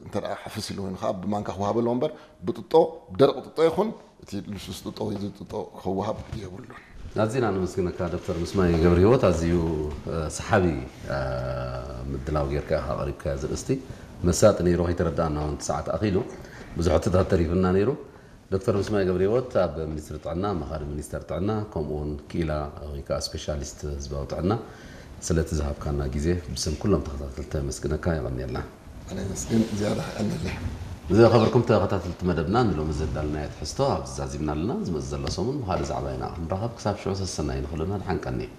እንተ ደኣ ሕፍስ ኢሉ ኮይኑ ከዓ ብማንካ ክወሃብ ኣለዎ እምበር፣ ብጥጦ፣ ብደረቕ ጥጦ ይኹን፣ እቲ ልስሉስ ጥጦ ወይ እዚ ጥጦ ክወሃብ የብሉን። ኣዝና ነመስግነካ ዶክተር ምስማይ ገብረ ህይወት፣ ኣዝዩ እ፣ ሰሓቢ እ፣ ምድላው ጌርካ ኢኻ ኣቕሪብካዮ ዘርእስቲ። መሳጢ ነይሩ፣ ከይተረዳእና እውን እቲ ሰዓት ኣኺሉ ብዙሕ ሕቶታት ተሪፉና ነይሩ። ዶክተር ምስማይ ገብረ ህይወት ኣብ ሚኒስትሪ ጥዕና፣ ኣማኻሪ ሚኒስተር ጥዕና፣ ከምኡ እውን ክኢላ ወይ ከዓ ስፔሻሊስት ህዝባዊ ጥዕና፣ ስለቲ ዝሃብካና ግዜ ብስም ኩሎም ተኸታተልቲ ነመስግነካ። የቐንየልና። ኣነ የመስግን፣ ዝያዳ ከቐንየለይ። ዝኸበርኩም ተኸታተልቲ መደብና፣ ንሎሚ ዘዳልናዮ ትሕዝቶ ኣብዚ ዛዚምና ኣለና። ዝመጽእ ዘሎ ሰሙን ብኻልእ ዛዕባ ኢና ክንራኸብ። ክሳብ ሽዑ ሰሰናዩ ንኹልና። ደሓን ቀንዩ።